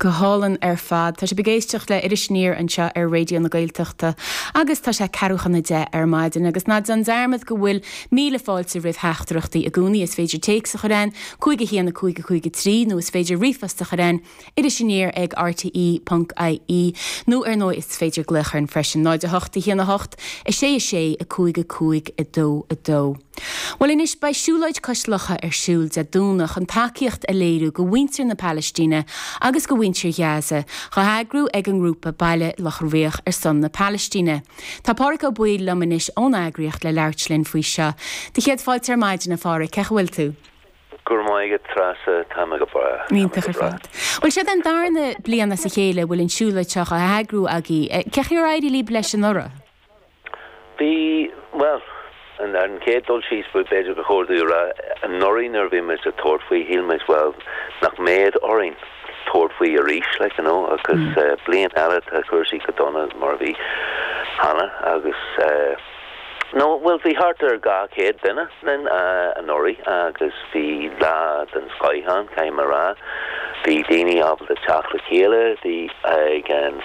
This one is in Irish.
Go hálainn ar fad. Tá sibh ag éisteacht le Iris Aniar anseo ar Raidió na Gaeltachta agus tá sé ceathrú chun a 10 ar maidin agus ná déan dearmad go bhfuil míle fáilte roimh theachtaireachtaí i gcónaí. Is féidir téacs a chur chugainn, 5 1 5 5 3 nó is féidir ríomhphost a chur chugainn, iriseaniar ag rte ponc ie nó ar ndóigh is féidir glaoch orainn freisin, 0 8 1 8 6 6 5 5 2 2. Bhuel anois, beidh siúlóid cois locha ar siúl Dé Domhnaigh chun tacaíocht a léiriú go mhuintir na Palaistíne agus go mhuintir Ghaza, dhá heagrú ag an ngrúpa Baile Locha Riach ar son na Palaistíne. Tá Pádhraic Ó Baoill liom anois ón eagraíocht le labhairt linn faoi seo. Do chéad fáilte ar maidin, a Phádhraic, cén chaoi a bhfuil tú? Go raibh maith agat, Treasa, tá mé go breá. Iontach ar fad. Bhuel, seo an darna bliain as a chéile a bhfuil an siúlóid seo á heagrú agaibh. Cén chaoi ar éirigh libh leis anuraidh? Bhí, bhuel, ar an chéad dul síos, b'fhéidir gur chóir domh a rá, anuraidh nuair a bhí muid ag tabhairt faoi, shíl muid, bhuel, nach mbeadh orainn tabhairt faoi arís, like, you know, agus bliain eile tá cúrsaí chomh dona mar a bhí cheana agus no, bhuel, bhí thart ar 200 duine linn anuraidh agus bhí lá den scoith ann, caithfidh mé a rá. Bhí daoine ábalta teacht le chéile, bhí ag an.